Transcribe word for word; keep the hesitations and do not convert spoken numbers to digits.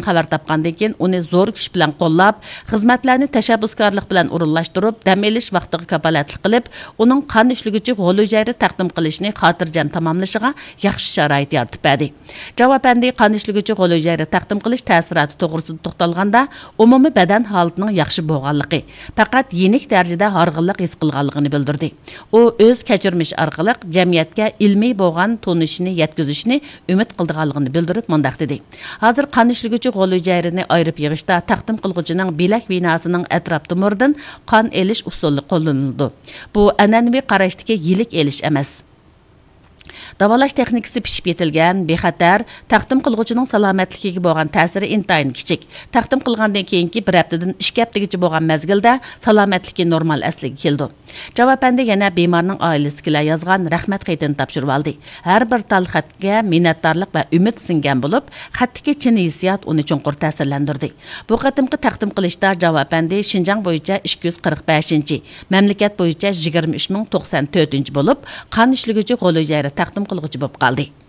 خەۋەر تاپقاندىن كېيىن، ئۇنى زور كۈچ بىلەن قوللاپ، خىزمەتلەرنى تەشەببۇسكارلىق بىلەن ئورۇنلاشتۇرۇپ، دەم ئېلىش ۋاقتىغا كاپالەتلىك قىلىپ، ئۇنىڭ قان ئىشلىگۈچى غول ھۈجەيرە تەقدىم قىلىشىنى خاتىرجەم تاماملىشىغا ياخشى شارائىت يارىتىپ بەردى. جاۋ ئەپەندى قان ئىشلىگۈچى غول ھۈجەيرە تەقدىم قىلىش تەسىراتى توغرىسىدا توختالغاندا، ئومۇمىي بەدەن ھالىتىنىڭ ياخشى بولغانلىقى، پەقەت يېنىك دەرىجىدە ھارغىنلىق ھېس قىلغانلىقىنى بىلدۈردى. ئۇ ئۆز كەچۈرمىشى ئارقىلىق جەمئىيەتكە ئىلمىي بولغان تونۇشىنى يەتكۈزۈشنى ئۈمىد قىلىدىغانلىقىنى بىلدۈرۈپ مۇنداق دېدى: «ھازىر قان ئىشلىگۈچى غول ھۈجەيرىنى ئايرىپ يىغىشتا تەقدىم قىلغۇچىنىڭ بىلەك ۋېناسىنىڭ ئەتراپ تومۇرىدىن قان ئېلىش ئۇسۇلى قوللىنىلىدۇ. بۇ ئەنئەنىۋى قاراشتىكى يىلىك ئېلىش ئەمەس.» داۋالاش تېخنىكىسى پىشىپ يېتىلگەن، بىخەتەر، تەقدىم قىلغۇچىنىڭ سالامەتلىكىگە بولغان تەسىرى ئىنتايىن كىچىك. تەقدىم قىلغاندىن كېيىنكى بىر ھەپتىدىن ئىككى ھەپتىگىچە بولغان مەزگىلدە سالامەتلىكى نورمال ئەسلىگە كېلىدۇ. جاۋ ئەپەندى يەنە بىمارنىڭ ئائىلىسىدىكىلەر يازغان رەھمەت خېتىنى تاپشۇرۇۋالدى. ھەر بىر تال خەتكە مىننەتدارلىق ۋە ئۈمىد سىڭگەن بولۇپ، خەتتىكى چىن ھېسسىيات ئۇنى چوڭقۇر تەسىرلەندۈردى. بۇ قېتىمقى تەقدىم قىلىشتا جاۋ ئەپەندى شىنجاڭ بويىچە ئىككى يۈز قىرىق بەشىنچى، مەملىكەت بويىچە يىگىرمە ئۈچ مىڭ توقسان تۆتىنچى بولۇپ، قان ئىشلىگۈچى غول ھۈجەيرە تەقدىم قىلغۇچى بولۇپ قالدى.